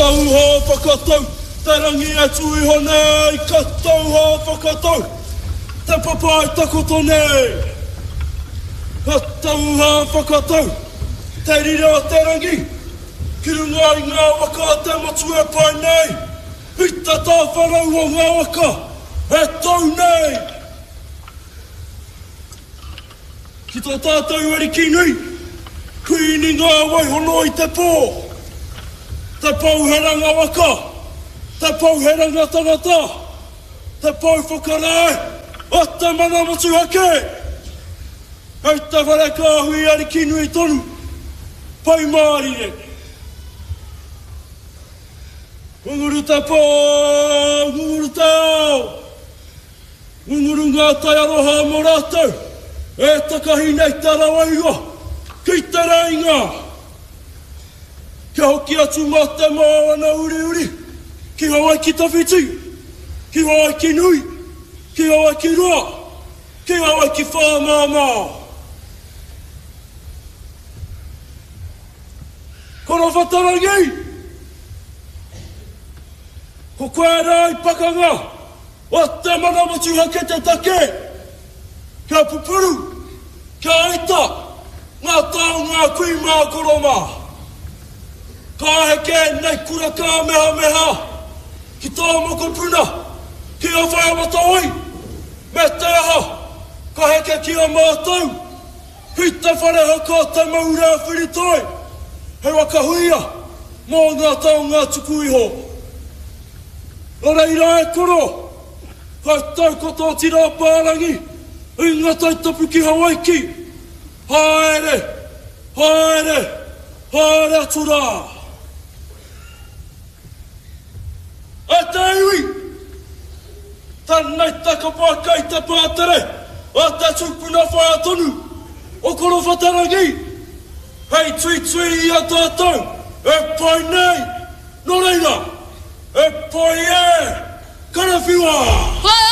tauhā whakatau te rangi e tū iho nei, ka tauhā whakatau te papa e takoto nei. Ka tauhā whakatau te rire o te rangi ki runga i ngā waka a te motu e pae nei, i te tāwharau o ngā waka e tau nei. Ki tō tātou Ariki nui, Kuini ngā waihono i te pō, te pou heranga waka, te pou heranga tangata, te pou whakarae o te mana motuhake! Hei te whare kāhui ariki nui tonu, Pai Mārire! Ngunguru te pō, ngunguru te ao! Ngunguru ngā tai aroha mō rātou e takahi nei te ara wairua ki te rēinga. Kia hoki atu mā te moana uriuri ki Hawaiki tawhiti, ki Hawaiki nui, ki Hawaiki roa, ki Hawaiki whāmāmā. Korowhatarangi! Ko koe rā i pakanga! O te mana motuhake te take kia pupuru, kia aita ngā taonga a kui mā koro mā. Ka heke ēnei kura kāmehameha ki tō mokopuna, ki a Whaea Matawai, me te aha, ka heke ki a mātou, ki te whare haka o Te Maurea Whiritoi, he waka huia mō ngā taonga tuku iho. Nō reira e koro, ka tau ko tō tira apārangi i ngā tai tapu ki Hawaiki, haere, haere, haere atu rā. E te iwi! Tēnei te kapa kei te pātere a te tupuna whaea tonu o Korowhatarangi hei tuitui i a tātou e pai nei, nō reira, e pai e, karawhiua!